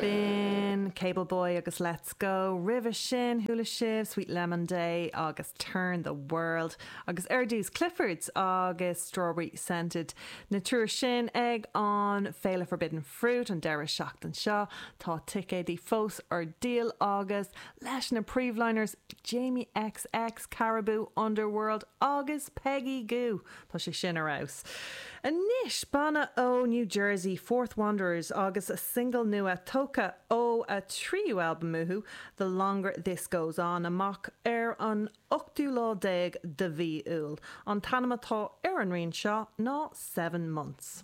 B'in Cable Boy agus Let's Go. Roimhe sin, chuala sibh Sweet Lemon Day agus Turn the World. Agus ar dtús, Cliffords agus Strawberry Scented. Na triúr sin ag an Féile Forbidden Fruit an deireadh seachtain seo. Tá ticéadaí fós ar díol agus leis na príomhliners Jamie XX, Caribou, Underworld agus Peggy Gou. Tá sé sin ar fheabhas. Anois, banna ó New Jersey, Forth Wanderers, agus a singil nua tógtha ó a tríú albam uathu, The Longer This Goes On, amach ar an ochtú lá déag de mhí Iúil. An t-ainm atá ar an rian seo ná Seven Months.